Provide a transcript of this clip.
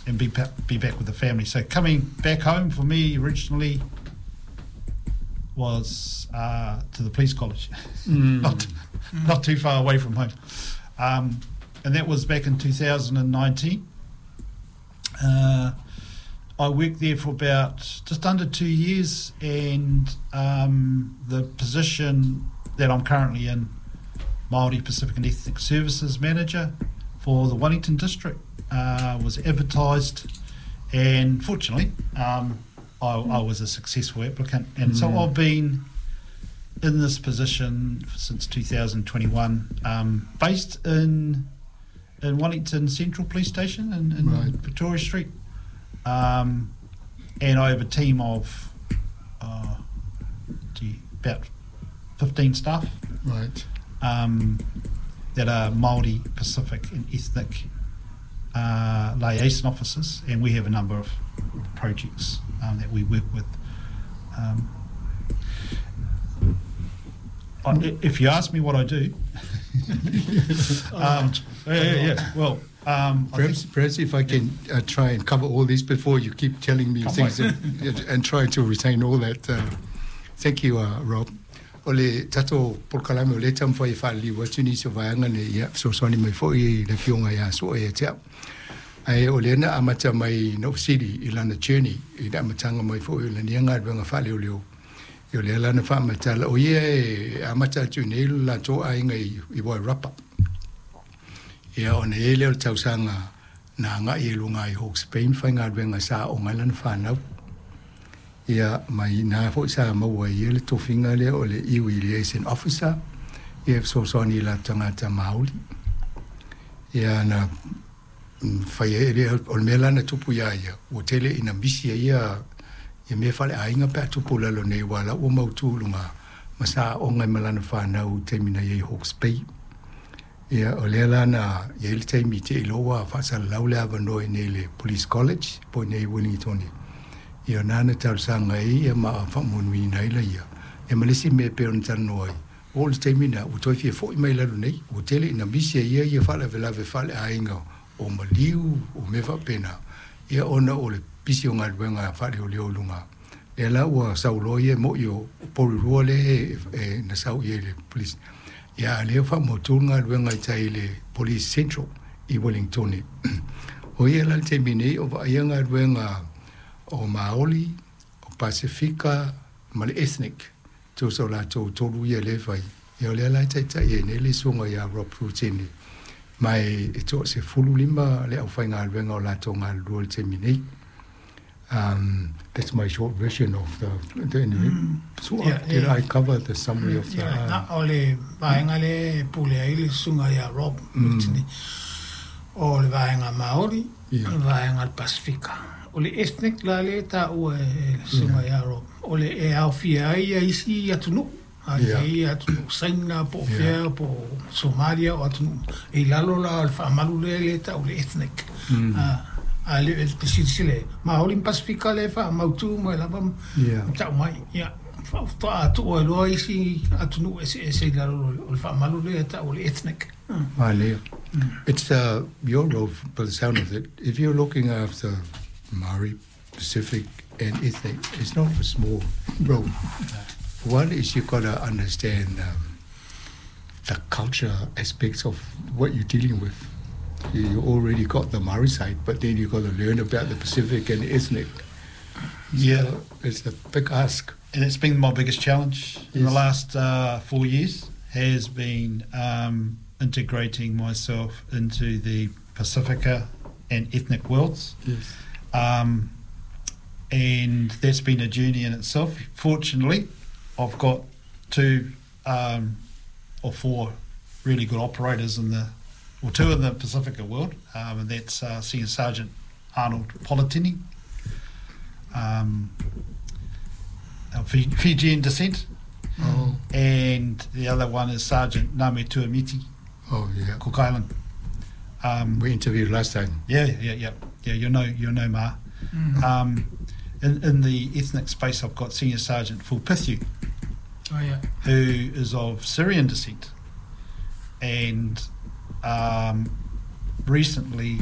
and be back with the family. So coming back home for me originally was to the police college, not too far away from home, and that was back in 2019. I worked there for about just under 2 years, and the position that I'm currently in, Māori Pacific and Ethnic Services Manager for the Wellington District, was advertised, and fortunately, I was a successful applicant, and so I've been in this position since 2021, based in Wellington Central Police Station in Victoria Street. And I have a team of gee, about 15 staff that are Māori, Pacific and ethnic liaison officers, and we have a number of projects that we work with. If you ask me what I do, yeah. Well, I Perhaps if I can try and cover all this before you keep telling me Can't things wait. and try to retain all that. Thank you, Rob. O le tatou polokalame o lea e taumafai e faaliliu atu nisi o vaega nei ia fesoasoani mai foi le afioga ia Soa ia te au. Ae o lea na amata mai na fesili i lana journey i le amataga mai foi o lana ia galuega faaleoleo. Ia o lea la na faamatala o ia e amata atu i nei lo latou aiga i Wairarapa. Ia ona i ai lea o le tausaga na agai e luga i Hawke's Bay ma faigaluega sa aoga ai lana fanau. Ia ma i ina foi sa maua ai ia le tofiga lea o le Iwi Liaison Officer ia e fesoasoani i latou tagata Māori. Ia na fai ai lea o le mea la na tupu iā ia ua tele ina misi ai ia ia mea faaleaiga pe a tupu i lalo nei aua la ua mautū i luga ma sa aoga ai ma lana fanau i taimi na i ai Hawke's Bay. Ia o lea la na i ai le taimi te iloa ua faasalalau le avanoa i nei le Police College po i nei Wellington. Ia na na talosaga ai ia ma faamuanuiina ai laia. Ia ma le isi mea e pei ona talanoa ai, o le taimi na ua toe fia fo'i mai lalo nei, ua tele ina misi ai ia ia faalavelave faaleaiga o maliu o mea faapena. Ia ona o le pisi o galuega faaleoleo i luga. Lea la ua sauloa ia mo'i o Porirua lea e na sau i ai le police. Ia a o lea ua faamautū le galuega i tai i le Police Central i Wellington. O ia la le taimi nei o vaaia galuega o Māori, o Pasifika ma le ethnic. Tusa o latou tolu ia lea e fai. Ia o lea la e taitai ai nei le susuga ia Rob Rutene. Ma e 15 le aufaigaluega o latou galulue i le taimi nei. That's my short version of the anyway. So did I cover the summary of the Yeah, na o le vaega le pule ai le susuga ia Rob Rutene. O le vaega Māori, le vaega le Pasifika. O le ethnic la le taua e le susuga ia Rob. O le e aofia ai ia isi atunuu. A i atunuu Saina po o fea po o Somalia o atunuu. E i lalo la o le faamalu lea le tau le ethnic. A le e silasila Māori ma Pasifika le faamautu mai lava ma tau mai. Ia, faatoa tuu ai loa isi atunuu eseese i lalo o le faamalu lea tau o le ethnic. Manaia. It's your role, by the sound of it. If you're looking after Maori, Pacific, and ethnic, it's not a small role. One is you've got to understand the culture aspects of what you're dealing with. You already got the Maori side, but then you've got to learn about the Pacific and ethnic. So it's a big ask. And it's been my biggest challenge in the last 4 years has been integrating myself into the Pacifica and ethnic worlds. And that's been a journey in itself. Fortunately, I've got two or four really good operators in the, or two in the Pacifica world, and that's Senior Sergeant Arnold Politini, of Fijian descent, and the other one is Sergeant Name Tuamiti, Cook Island. We interviewed last time. Yeah. You know, Ma. In the ethnic space, I've got Senior Sergeant Phil Pithu, who is of Syrian descent, and recently